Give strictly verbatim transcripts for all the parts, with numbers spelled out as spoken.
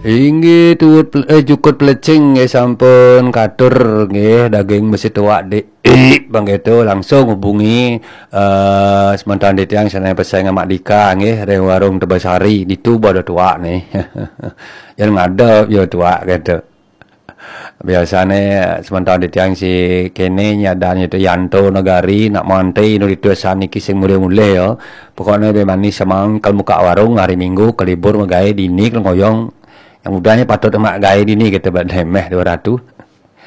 Inggih tuut pel- eh, jukut pelecing nggih sampun katur nggih daging besi tuak dik bang gitu langsung hubungi eh sementara di tiang sana pesan Mak Dika nggih ring warung Tebasari ditu bodo tuak nih. Yang ngadep yo tuak gitu. Biasane sementara di tiang si kene nyadan itu Yanto Negari nak mantai nu ditu saniki sing mulih-mulih yo. Pokoknya be manis semang kalau muka warung hari Minggu ke libur megai dini kalau ngoyong yang mudanya patut emak gai dini kita buat demeh dua ratus.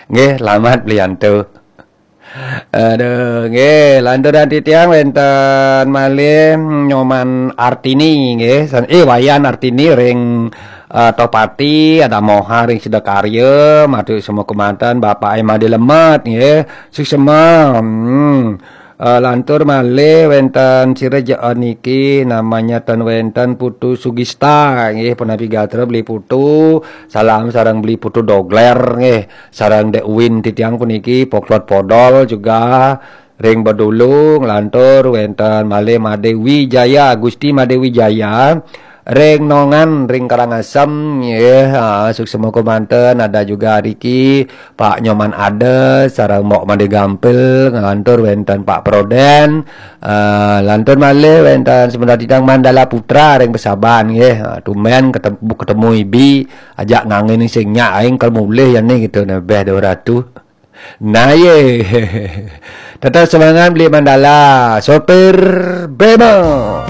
Nggih, selamat beli Yanto. Aduh, nggih, lanturan titiang wenten malih Nyoman Artini nggih. San- Eh Wayan Artini ring eh, Tohpati, ada Moha ring Sidakarya, matur semua kemanten Bapak Emma di Lemet nggih. Suksema. Hmm. Eh, lantur malih wenten sira jaan niki namanya ten wenten Putu Sugista nggih, punapi gatra beli Putu. Salam sareng beli Putu Dogler nggih. Sareng Dek Win titiang puniki Poklot Podol juga ring Bedulu nglantur wenten malih Made Wijaya, Gusti Made Wijaya ring Nongan ring Karangasem nggih. Ah, suksema kemanten ada juga Riki, Pak Nyoman Ada sareng Mbok Made Gampil nglantur wenten Pak Proden. Ah, lantur malih wenten sebentar titiang Mandala Putra ring Besaban nggih. Ah, tumben ketemu, ketemu ibi ajak ngangen sing nyak aing kal mulih ya nih gitu nebeh dua ratus. Nah ye. Tetap semangat beli Mandala. Sopir Bemo.